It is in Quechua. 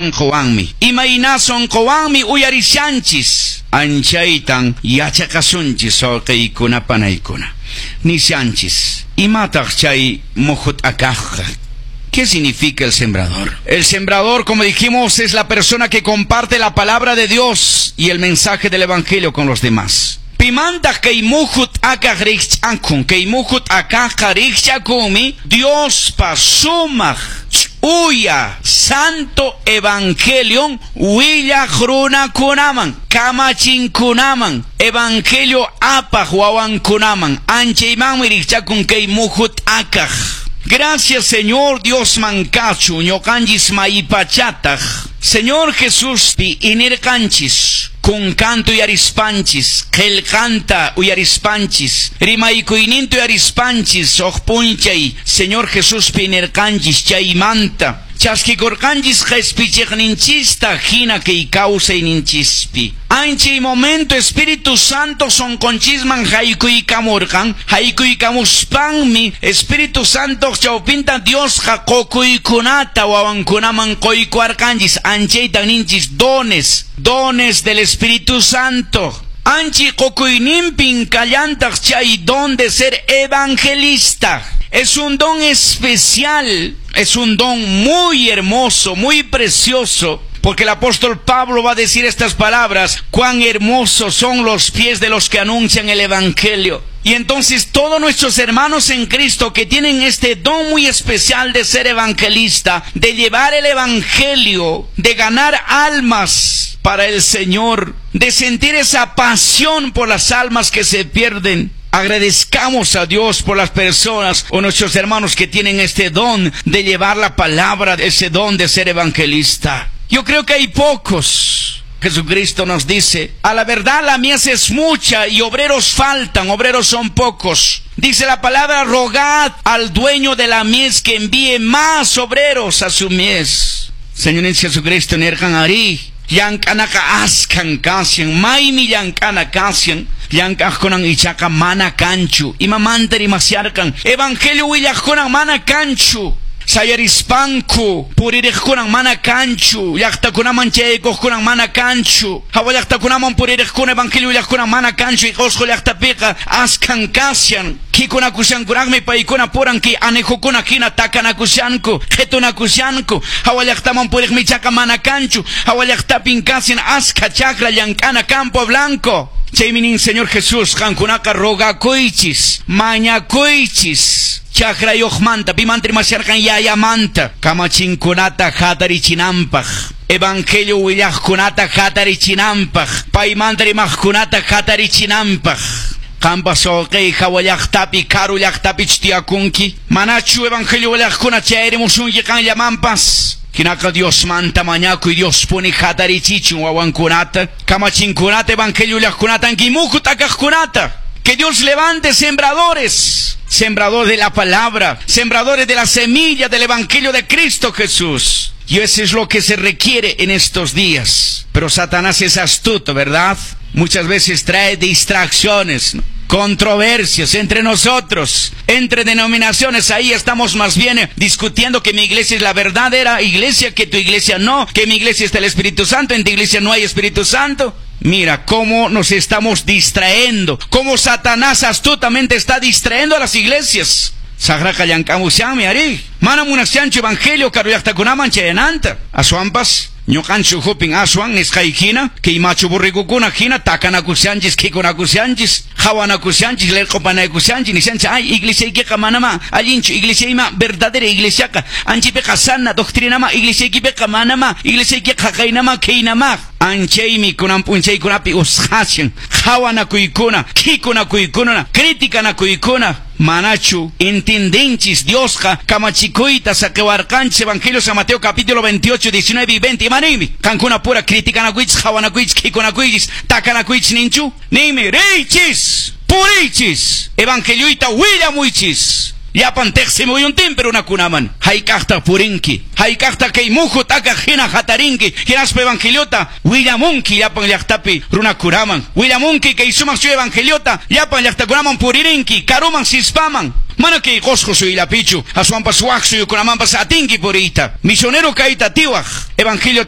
Sonqowanmi, imayna sonqowanmi uyarishanchis, anchaytan yachaqasunchis wawqiykuna panaykuna. Nishanchis, imataq chay muhu t'akaqqa? ¿Qué significa el sembrador? El sembrador, como dijimos, es la persona que comparte la palabra de Dios y el mensaje del Evangelio con los demás. Pimantaq kay muhu t'akaq rikch'akun, kay muhu t'akaqqa rikch'akunmi Diospa sumaq ch'uya santo evangelion willaq runakunaman, kamachinkunaman, evangelio apaq wawankunaman, anchaymanmi rikch'akun kay muhu t'akaq. Gracias, Señor Diosman kachun, ñuqanchis maypachataq Señor Jesuspi inirqanchis, kunkanta uyarispanchis, qillqanta uyarispanchis, rimaykuyninta uyarispanchis, huk p'unchay Señor Jesuspi inirqanchis chaymanta chaskikurqanchis qhispichiqninchista hina kay kawsayninchispi. Anchay momento Espíritu Santo sonqonchisman haykuykamurqan, haykuykamuspanmi Espíritu Santo chawpinta Diosqa qukuykunata wawankunaman quykuwarqanchis, anchaytan ninchis dones, dones del Espíritu Santo. Anchay qukuyninpin kallantaq chay don de ser evangelista. Es un don especial, es un don muy hermoso, muy precioso, porque el apóstol Pablo va a decir estas palabras: cuán hermosos son los pies de los que anuncian el Evangelio. Y entonces todos nuestros hermanos en Cristo que tienen este don muy especial de ser evangelista, de llevar el Evangelio, de ganar almas para el Señor, de sentir esa pasión por las almas que se pierden, agradezcamos a Dios por las personas o nuestros hermanos que tienen este don de llevar la palabra, ese don de ser evangelista. Yo creo que hay pocos. Jesucristo nos dice: a la verdad la mies es mucha y obreros faltan, obreros son pocos. Dice la palabra: rogad al dueño de la mies que envíe más obreros a su mies. Señor Jesucristo nirqan arí, llank'anaqa askhan kashan, maymi llank'ana kashan, llank'aqkunan ichaqa mana kanchu. Imamanta rimasharqan? Evangelio willaqkunan mana kanchu. Sayarispanku puririqkunan mana kanchu, llaqtakunaman chayaykuqkunan mana kanchu, hawa llaqtakunaman puririqkuna evangelio willaqkunan mana kanchu, Qusqu llaqtapiqa askhan kashan, kikunakushankuraqmi paykuna puran kay anejukuna hina takanakushanku, qhitunakushanku, hawa llaqtaman puriqmi ichaqa mana kanchu, hawa llaqtapin kashan askha chakra llank'ana campo blanco. Chaymi nin Señor Jesús, qankunaqa rogakuychis, mañakuychis chakrayuqmanta, pimanta rimasharqan? Yayamanta, kamachinkunata hatarichinanpaq, evangelio willaqkunata hatarichinanpaq, paymanta rimaqkunata hatarichinanpaq. Qampas wawqiy hawa llaqtapi, karu llaqtapi tiyakunki, manachu evangelio willaqkuna chayarimusunki qanllamanpas? Hinaqa Diosmanta mañakuy, Dios puni hatarichichun wawankunata, kamachinkunata, evangelio willaqkunata, ankimuhu t'akaqkunata. Que Dios levante sembradores, sembradores de la palabra, sembradores de la semilla del Evangelio de Cristo Jesús. Y eso es lo que se requiere en estos días. Pero Satanás es astuto, ¿verdad? Muchas veces trae distracciones, ¿no?, controversias entre nosotros, entre denominaciones. Ahí estamos más bien discutiendo que mi iglesia es la verdadera iglesia, que tu iglesia no, que mi iglesia está el Espíritu Santo, en tu iglesia no hay Espíritu Santo. Mira cómo nos estamos distrayendo, cómo Satanás astutamente está distrayendo a las iglesias. Saqraqa llank'amushanmi arí. Mana munashanchu evangelio karu llaqtakunaman chayananta. Aswanpas ñuqanchik ukhupin aswan nisqay hina, kay machu borregokuna hina takanakushanchis, khikunakushanchis, qhawanakushanchis, lerq'upanakushanchis, nishanchis, ay, iglesiaykiqa manama allinchu, iglesiayma verdadera iglesiaqa, anchipiqa sana doctrinama, iglesiaykipiqa manama, iglesiaykiqa qaynama, khaynama. Anchaymi kunan p'unchaykunapi usqhashan, qhawanakuykuna, khikunakuykuna, criticanakuykuna. Manachu entendinchis Diosqa kamachikuyta saqiwarqanchis Evangelio San Mateo capítulo 28, 19 y 20. Imaniymi qankuna pura criticanakuychis, qhawanakuychis, khikunakuychis, takanakuychis ninchu? Ninmi, riychis, puriychis, evangelioyta willamuychis. Llapan teqsimuyuntinpi runakunaman. Hayk'aqtaq purinki, hayk'aqtaq kay muhu t'akaq hina hatarinki, hinaspa evangeliota willamunki llapan llaqtapi runakunaman, willamunki kay sumaq chuya evangeliota llapan llaqtakunaman puririnki, karuman sispaman. Mana kay Qosqo suyullapichu, aswanpas wak suyukunamanpas atinki puriyta. Misionero kayta atiwaq, evangelio.